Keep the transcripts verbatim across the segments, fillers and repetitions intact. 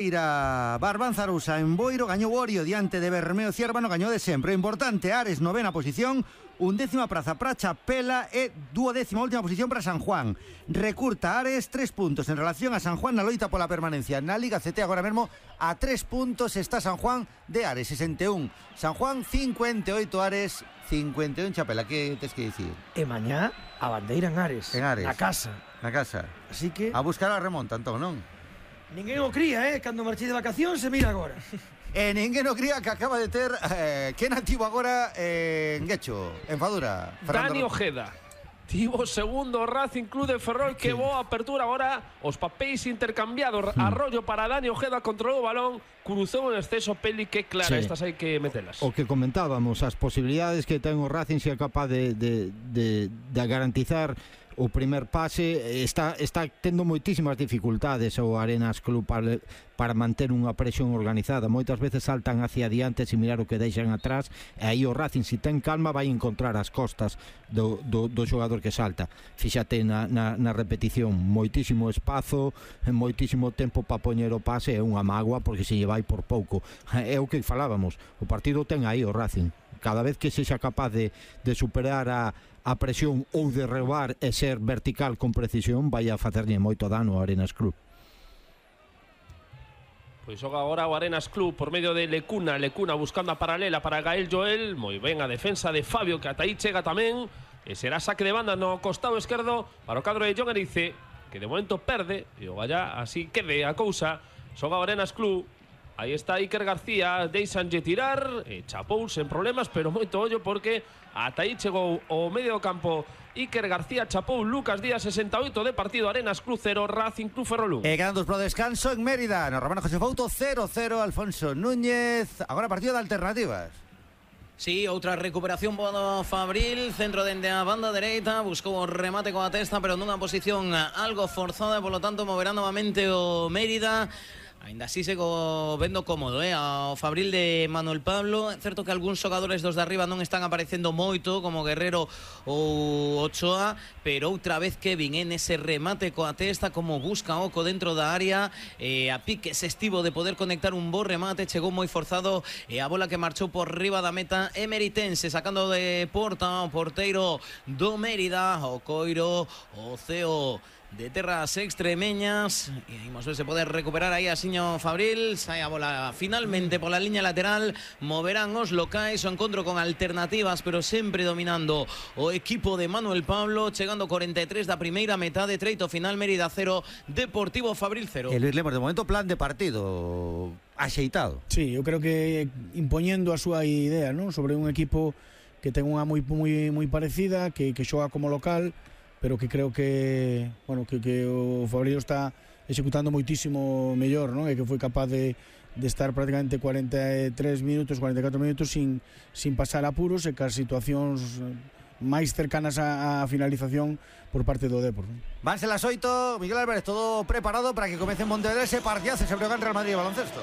Ira Barbanzarusa en Boiro gañou Orio diante de Bermeo Ciervano, gañou de sempre. Importante, Ares novena posición, undécima praza para Chapela e duodécima última posición para San Juan. Recurta Ares tres puntos en relación a San Juan na loita pola permanencia na Liga C T. Agora mesmo a tres puntos está San Juan de Ares, sesenta e un San Juan, cincuenta e oito Ares, cincuenta e un Chapela. Que tes que dicir? E mañá a bandeira en Ares, en Ares, na casa. Na casa. Así que a buscar a remonta, entón, non? Ninguén o cría, eh, cando marchei de vacación se mira agora. E ninguén o cría que acaba de ter eh, que nativo agora eh, en Guecho, en Fadura. Fernando Dani Ojeda. Tivo segundo Racing Club de Ferrol, que boa apertura agora, os papéis intercambiados. Hmm. Arroyo para Dani Ojeda, controlou o balón, cruzou en exceso Peli, que clara, sí. Estas hai que metelas. O que comentábamos, as posibilidades que ten o Racing se é capaz de, de, de, de garantizar o primer pase. Está, está tendo moitísimas dificultades o Arenas Club para, para manter unha presión organizada. Moitas veces saltan hacia adiante sin mirar o que deixan atrás, e aí o Racing, se ten calma, vai encontrar as costas do, do, do xogador que salta. Fíxate na, na, na repetición, moitísimo espazo, moitísimo tempo para poñer o pase, é unha mágoa porque se lle vai por pouco. É o que falábamos, o partido ten aí o Racing. Cada vez que sexa capaz de, de superar a, a presión ou de roubar e ser vertical con precisión, vai a facerlle moito dano ao Arenas Club. Pois xoga agora o Arenas Club por medio de Lecuna, Lecuna buscando a paralela para Gael Joel, moi ben a defensa de Fabio, que ata aí chega tamén, e será saque de banda no costado esquerdo para o cadro de John Erice, que de momento perde, e o vaya así quede a cousa. Xoga o Arenas Club. Aí está Iker García, deixanlle tirar, e chapou sen problemas, pero moito ollo porque ata aí chegou o medio campo Iker García, chapou Lucas Díaz, sesenta e oito de partido, Arenas Club cero, Racing Club Ferrol un. E quedan dos pro descanso en Mérida, no Romano José Fouto cero cero, Alfonso Núñez. Agora partido de alternativas. Sí, outra recuperación do Fabril, centro dende a banda dereita, buscou o remate coa testa, pero nunha posición algo forzada, e polo tanto moverá novamente o Mérida. Ainda así sigo vendo cómodo, eh, ao Fabril de Manuel Pablo. É certo que algúns xogadores dos de arriba non están aparecendo moito, como Guerrero ou Ochoa, pero outra vez Kevin en ese remate coa testa, como busca Oco dentro da área, eh, a pique se estivo de poder conectar un bo remate, chegou moi forzado, e a bola que marchou por riba da meta emeritense, sacando de porta o porteiro do Mérida, o Coiro, o Ceo de terras extremeñas, e imos ver se pode recuperar aí a Siño Fabril. Sai a bola finalmente pola liña lateral, moverán os locais, o encontro con alternativas, pero sempre dominando o equipo de Manuel Pablo, chegando cuarenta e tres da primeira metade, treito final, Mérida cero, Deportivo Fabril cero. E Luis Lemos, de momento plan de partido axeitado. Sí, eu creo que impoñendo a súa idea, ¿no?, sobre un equipo que ten unha moi moi moi parecida, que que xoga como local, pero que creo que, bueno, que, que o Fabril está executando moitísimo mellor, non? E que foi capaz de, de estar prácticamente cuarenta e tres minutos, cuarenta e catro minutos sin, sin pasar apuros, e que as situacións máis cercanas á, á finalización por parte do Depor, non? Vanse las oito, Miguel Álvarez, todo preparado para que comece en Montevideo ese partidazo, ese Breogán Real Madrid de baloncesto.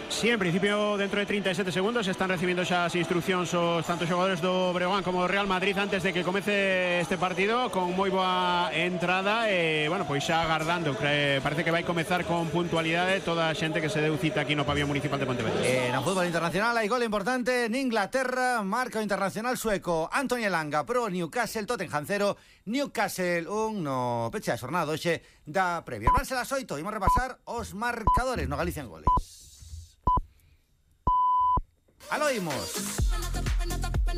Sí, en principio dentro de treinta e sete segundos están recibiendo xa as instruccións os tanto xogadores do Breogán como do Real Madrid antes de que comece este partido, con moi boa entrada, e, bueno, pois xa agardando. Parece que vai comezar con puntualidade toda a xente que se deu cita aquí no pabellón municipal de Pontevedra. Eh, no fútbol internacional hai gol importante en Inglaterra, marca o internacional sueco Anthony Elanga pro Newcastle, Tottenham cero, Newcastle un no peche a xornada hoxe da Premier. Vanse las oito, imos repasar os marcadores no Galicia en goles. Aloimos.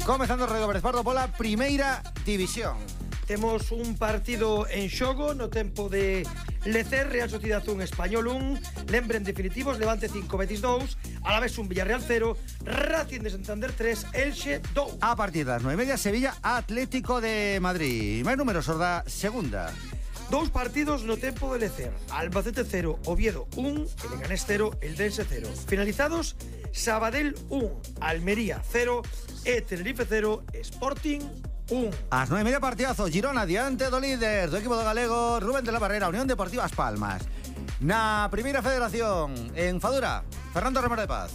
Comezando o Radio Brezpardo pola primeira división. Temos un partido en xogo no tempo de Lecer, Real Sociedade un, Español un. Lembren definitivos, Levante cinco, Betis dous, Alavés un, Villarreal cero, Racing de Santander tres, Elxe dous. A partir das nove e media, Sevilla Atlético de Madrid. Máis números os da segunda. Dous partidos no tempo de Lecer, Albacete cero, Oviedo un, el Leganés cero, Eldense cero. Finalizados, Sabadell un, Almería cero, e Tenerife cero, Sporting un. As nove e media, partidazo, Girona diante do líder do equipo do galego, Rubén de la Barrera, Unión Deportiva As Palmas. Na primeira federación, en Fadura, Fernando Romero de Paz.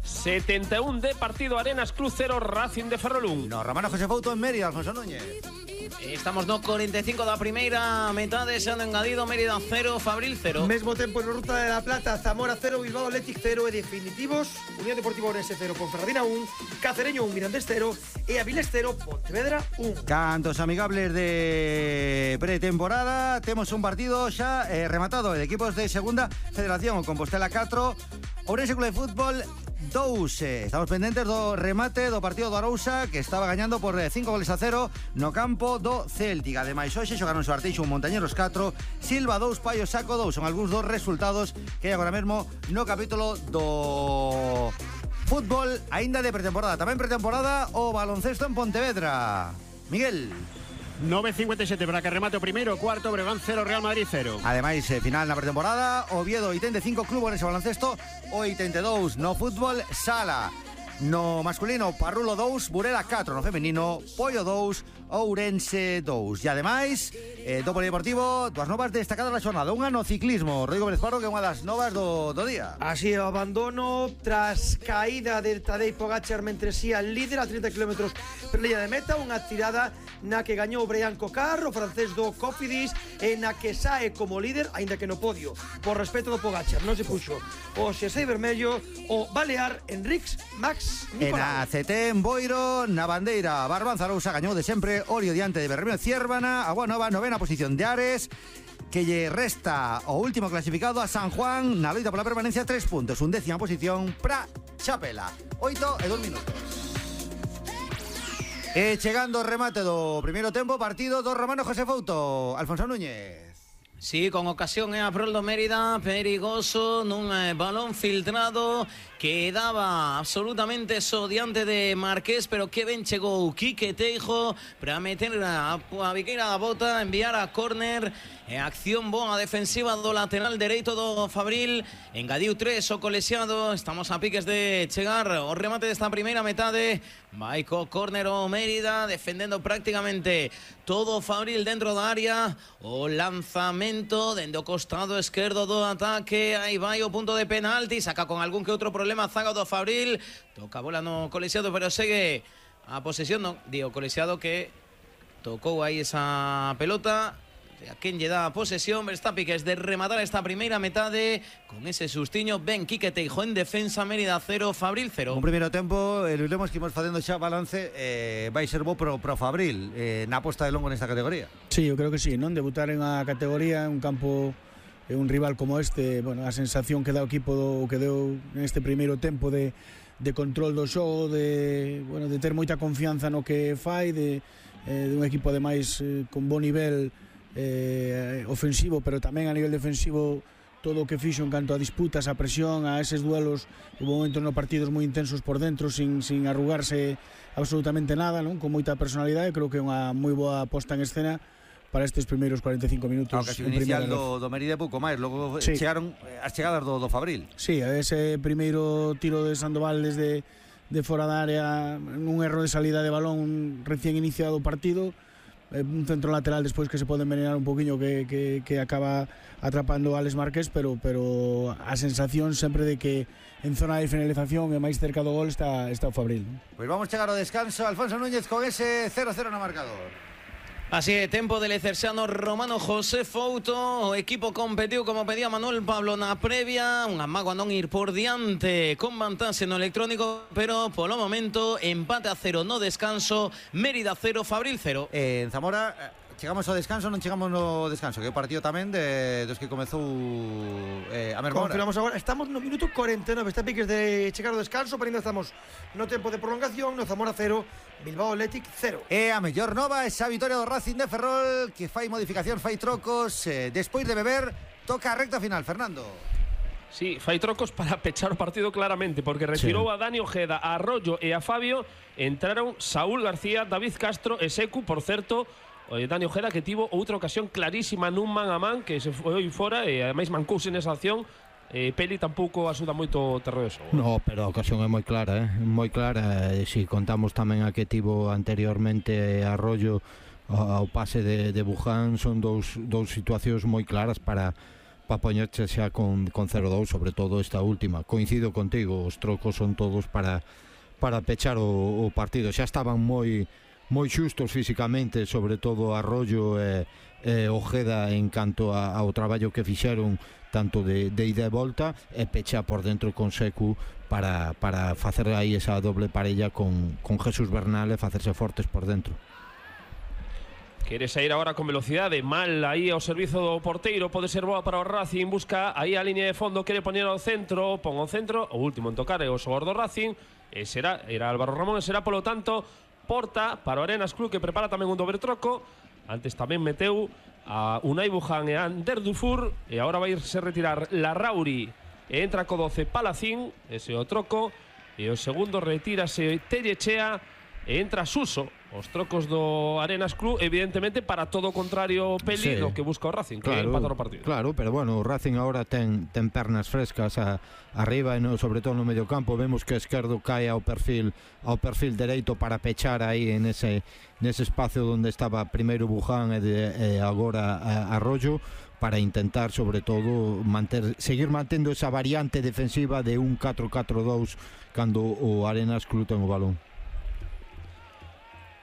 setenta e un de partido, Arenas Club cero, Racing de Ferrol un. No Romano José Fouto en Mérida, Alfonso Núñez. Estamos no cuarenta y cinco da primeira metade, se han engadido Mérida cero, Fabril cero. Mesmo tempo no Ruta de la Plata, Zamora cero, Bilbao Athletic cero e definitivos Unión Deportiva Orense cero, Ponferradina un, Cacereño un, Mirandés cero e Avilés cero, Pontevedra un. Cantos amigables de pretemporada. Temos un partido xa eh, rematado de equipos de Segunda Federación, o Compostela catro, Ourense Club de Fútbol dous. Estamos pendentes do remate do partido do Arousa, que estaba gañando por cinco goles a cero no campo do Celtic. Ademais, hoxe xogaron o Arteixo un, Montañeros catro, Silva dous, Paio Saco dous. Son algúns dos resultados que hai agora mesmo no capítulo do fútbol aínda de pretemporada. Tamén pretemporada o baloncesto en Pontevedra. Miguel. nove cincuenta y siete para que remate o primeiro, cuarto, Breogán cero, Real Madrid cero. Ademais, eh, final na pretemporada, Oviedo oitenta e cinco, Club Orense baloncesto oitenta e dous. No fútbol, Sala. No masculino, Parrulo dous, Burela catro. No femenino, Pollo dous, Ourense dous. E ademais, eh, do polideportivo, dúas novas destacadas da xornada. Unha no ciclismo, Rodrigo Pérez Parro, que é unha das novas do, do día. Así o abandono tras caída de Tadej Pogačar mentre si al líder a trinta kilómetros per línea de meta, unha tirada na que gañou Brian Cocar, o francés do Cofidis, e na que sae como líder, aínda que no podio, por respeto do Pogačar, non se puxo o xersei vermello o balear Enrics Max En Nicolau. a C T en Boiro, na bandeira, Barbanza Arousa gañou de sempre, Orio diante de Bermeo Ciérvana, a Nova, novena posición de Ares, que lle resta o último clasificado a San Juan na loita pola permanencia, tres puntos, undécima posición para Chapela, oito e dos minutos. E chegando o remate do primeiro tempo, partido do Romano José Fouto, Alfonso Núñez. Sí, con ocasión é a prol do Mérida, perigoso nun eh, balón filtrado que daba absolutamente so diante de Marqués, pero que ben chegou Quique Teijo para meter a, a Viqueira da bota, enviar a córner, e acción boa defensiva do lateral dereito do Fabril, engadiu tres o colexiado. Estamos a piques de chegar o remate desta primeira metade, vai co córner o Mérida, defendendo prácticamente todo o Fabril dentro da área, o lanzamento dende o costado esquerdo do ataque, aí vai o punto de penalti, saca con algún que outro problema a zaga do Fabril, toca a bola no colexiado, pero segue a posesión, non, di o colexiado que tocou aí esa pelota. A quen lle dá a posesión, Verstappen, que es de rematar esta primeira metade con ese sustiño. Ben Quique Teijo en defensa, Mérida cero, Fabril cero. Un primeiro tempo, e lemos que imos facendo xa balance, eh, vai ser bo pro, pro Fabril eh, na aposta de longo nesta categoría. Sí, eu creo que sí, non? Debutar en a categoría, en un campo, en un rival como este, bueno, a sensación que dá o equipo do, que deu neste primeiro tempo de, de control do xogo, de, bueno, de ter moita confianza no que fai, de, eh, de un equipo ademais eh, con bo nivel eh, ofensivo, pero tamén a nivel defensivo, todo o que fixo en canto a disputas, a presión, a eses duelos, hubo momentos no partidos moi intensos por dentro, sin, sin arrugarse absolutamente nada, non? Con moita personalidade. Creo que é unha moi boa posta en escena para estes primeiros cuarenta e cinco minutos. A ocasión inicial do, do Mérida pouco máis, logo sí. chegaron as chegadas do, do Fabril. Sí, ese primeiro tiro de Sandoval desde de fora da área, un erro de salida de balón recién iniciado o partido, un centro lateral despois que se pode envenenar un poquinho, que, que, que acaba atrapando a Alex Márquez, pero, pero a sensación sempre de que en zona de finalización e máis cerca do gol está, está o Fabril. Pois vamos chegar ao descanso, Alfonso Núñez con ese cero cero no marcador. Así é, tempo del exerciano Romano José Fouto. O equipo competiu como pedía Manuel Pablo na previa, unha mágoa non ir por diante con vantaxe no electrónico, pero polo momento empate a cero no descanso, Mérida cero, Fabril cero. Eh, en Zamora chegamos ao descanso, non chegamos no descanso, que é o partido tamén de, dos que comezou eh, a mesma hora. Confirmamos agora, estamos no minuto cuarenta e nove, está piques de chegar ao descanso, pero ainda estamos no tempo de prolongación, no Zamora cero, Bilbao Athletic cero. E a mellor nova esa vitoria do Racing de Ferrol, que fai modificación, fai trocos, eh, despois de beber, toca a recta final, Fernando. Sí, fai trocos para pechar o partido claramente, porque retirou sí. a Dani Ojeda, a Arroyo e a Fabio, entraron Saúl García, David Castro e Secu, por certo, o Dani Ojeda que tivo outra ocasión clarísima nun man a man que se foi fora e ademais mancouse nesa acción. Eh, Peli tampouco axuda moito o terreo de xogo. No, pero a ocasión é moi clara, eh? moi clara. E si contamos tamén a que tivo anteriormente Arroyo ao pase de, de Buján, son dous, dous situacións moi claras para para poñerse xa con, con cero dous, sobre todo esta última. Coincido contigo, os trocos son todos para para pechar o, o partido. Xa estaban moi moi xustos físicamente, sobre todo Arroyo e, e Ojeda en canto a, ao traballo que fixeron tanto de, de ida e volta, e pecha por dentro con Secu para, para facer aí esa doble parella con, con Jesús Bernal e facerse fortes por dentro. Quere sair agora con velocidade, mal aí ao servizo do porteiro, pode ser boa para o Racing, busca aí a línea de fondo, quere poñer ao centro, pon ao centro, o último en tocar é o xogador do Racing, e será, era Álvaro Ramón, e será polo tanto porta para o Arenas Club, que prepara tamén un dobre troco. Antes tamén meteu a Unai Bujan e a Ander Dufour, e agora vai irse retirar Larrauri, e entra co doce Palacín, ese o troco, e o segundo retírase Tellechea, e entra Suso. Os trocos do Arenas Club, evidentemente, para todo o contrario Peli, sí, do que busca o Racing, claro, que empatar o partido. Claro, pero bueno, o Racing agora ten, ten pernas frescas a, arriba e no, sobre todo no medio campo. Vemos que Esquerdo cae ao perfil ao perfil dereito para pechar aí en ese, nese espacio onde estaba primeiro Buján e, de, e agora a, Arroyo, para intentar, sobre todo, manter, seguir mantendo esa variante defensiva de un catro catro dous cando o Arenas Club ten o balón.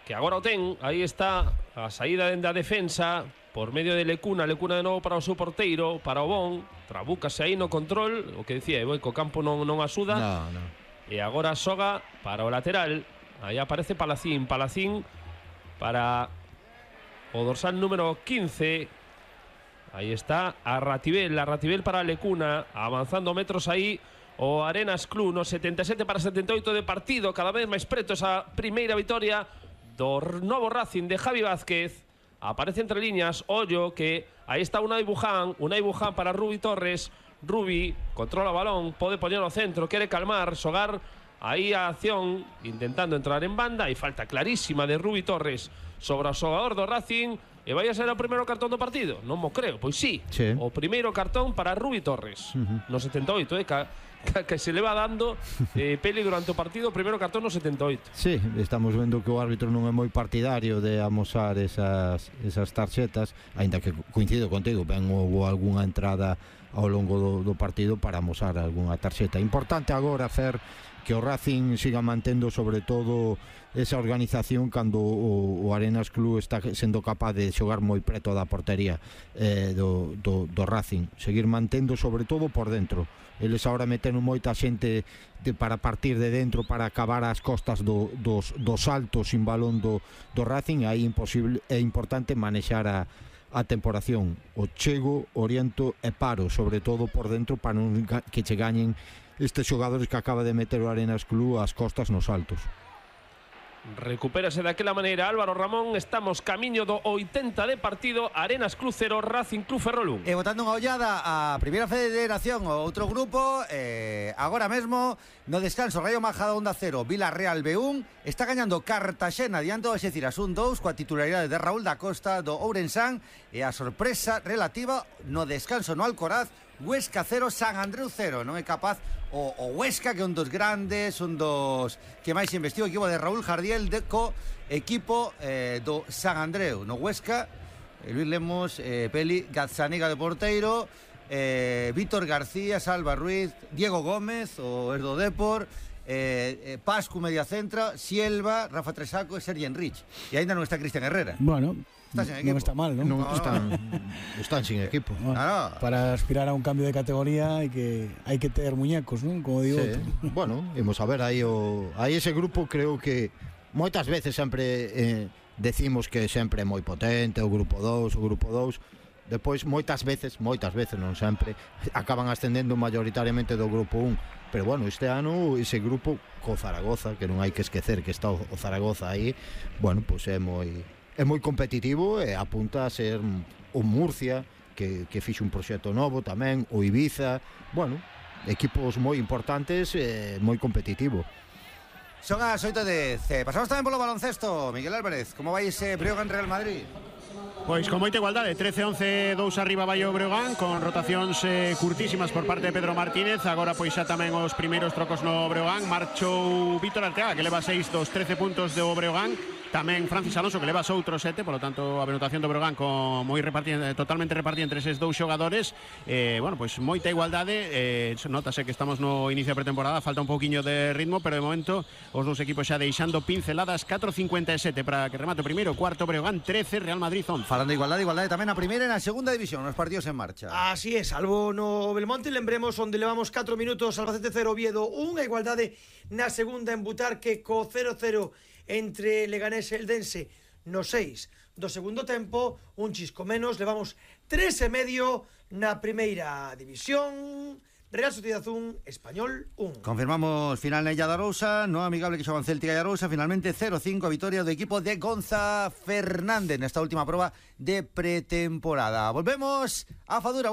Que agora o ten, aí está a saída dende a defensa por medio de Lecuna, Lecuna de novo para o seu porteiro, para o Bon, trabúcase aí no control, o que decía, e o campo non, non asuda, no, no. E agora Soga para o lateral, aí aparece Palacín, Palacín para o dorsal número quince, aí está a Ratibel, a Ratibel para Lecuna, avanzando metros aí, o Arenas Club no setenta e sete para setenta e oito de partido, cada vez máis preto esa primeira vitoria do novo Racing de Javi Vázquez. Aparece entre líneas Ollo, que aí está Unai Buján, Unai Buján para Rubi Torres, Rubi controla o balón, pode poñer ao centro, quere calmar, xogar aí a acción, intentando entrar en banda, e falta clarísima de Rubi Torres sobre o xogador do Racing, e vai a ser o primeiro cartón do partido. Non mo creo, pois sí, sí. O primeiro cartón para Rubi Torres, uh-huh. no setenta e oito, eh, que, que se le va dando eh, Peli durante o partido, o primeiro cartón no setenta e oito. Sí, estamos vendo que o árbitro non é moi partidario de amosar esas, esas tarxetas, aínda que coincido contigo, ben houve algunha entrada ao longo do, do partido para amosar algunha tarxeta. Importante agora, Fer, que o Racing siga mantendo sobre todo esa organización cando o, o Arenas Club está sendo capaz de xogar moi preto da portería eh, do, do, do Racing, seguir mantendo sobre todo por dentro. Eles agora meten moita xente de, para partir de dentro, para acabar as costas do, dos, dos saltos sin balón do, do Racing. Aí imposible, é importante manexar a, a temporación, o chego, oriento e paro, sobre todo por dentro, para non que che gañen estes xogadores que acaba de meter o Arenas Club as costas nos saltos. Recupérase daquela maneira Álvaro Ramón. Estamos camiño do oitenta de partido. Arenas Club cero, Racing Club Ferrolún. E botando unha ollada a Primeira Federación, o outro grupo, eh, agora mesmo no descanso Rayo Majadahonda cero, Villarreal B un, está gañando Cartaxena diante do Alxeciras un dous, coa titularidade de Raúl da Costa do Ourensán, e a sorpresa relativa no descanso no Alcoraz, Huesca cero, San Andreu cero. Non é capaz o, o Huesca, que é un dos grandes, un dos que máis investiu, o equipo de Raúl Jardiel de co equipo eh, do San Andreu. No Huesca, eh, Luis Lemos, eh, Peli, Gazzaniga de porteiro, eh, Víctor García, Salva Ruiz, Diego Gómez, o Erdo Depor, eh, eh, Pascu media centra, Sielva, Rafa Tresaco e Sergi Enrich. E ainda non está Cristian Herrera. Bueno, está sin equipo. Non está mal, non? Non, No, están, están sin equipo. Bueno, Claro. para aspirar a un cambio de categoría hai que hai que ter muñecos, non? Como digo. Sí. Bueno, imos a ver aí o aí ese grupo. Creo que moitas veces sempre eh, decimos que sempre é moi potente o grupo dous, o grupo dous. Depois moitas veces, moitas veces non sempre, acaban ascendendo mayoritariamente do grupo un. Pero bueno, este ano ese grupo co Zaragoza, que non hai que esquecer que está o Zaragoza aí, bueno, pois pues é moi é moi competitivo e apunta a ser o Murcia, que, que fixe un proxecto novo tamén, o Ibiza, bueno, equipos moi importantes e moi competitivo. Son as oito de C. Pasamos tamén polo baloncesto. Miguel Álvarez, como vai ese Breogán Real Madrid? Pois con moita igualdade, trece once, dous arriba vai o Breogán, con rotacións eh, curtísimas por parte de Pedro Martínez. Agora pois xa tamén os primeiros trocos no Breogán. Marchou Víctor Arteaga, que leva seis dos trece puntos do Breogán. Tamén Francis Alonso, que leva outros sete, polo tanto a anotación do Breogán con moi repartida, totalmente repartida entre eses dous xogadores. Eh, bueno, pois moita igualdade, eh, notase que estamos no inicio de pretemporada, falta un pouquiño de ritmo, pero de momento os dous equipos xa deixando pinceladas. Catro cincuenta e sete para que remate o primeiro, cuarto Breogán trece, Real Madrid once. Falando de igualdade, igualdade tamén a primeira e na segunda división, os partidos en marcha. Así é, salvo no Belmonte, lembremos onde levamos catro minutos, Albacete cero, Oviedo un, a igualdade na segunda en Butarque co cero cero entre Leganés e Eldense no seis do segundo tempo, un chisco menos, levamos tres e medio na primeira división. Real Sociedad un, Español un. Confirmamos final na Illa da Arousa, no amigable que xogan Celtic e Arousa, finalmente cero cinco a vitoria do equipo de Gonza Fernández nesta última proba de pretemporada. Volvemos a Fadura.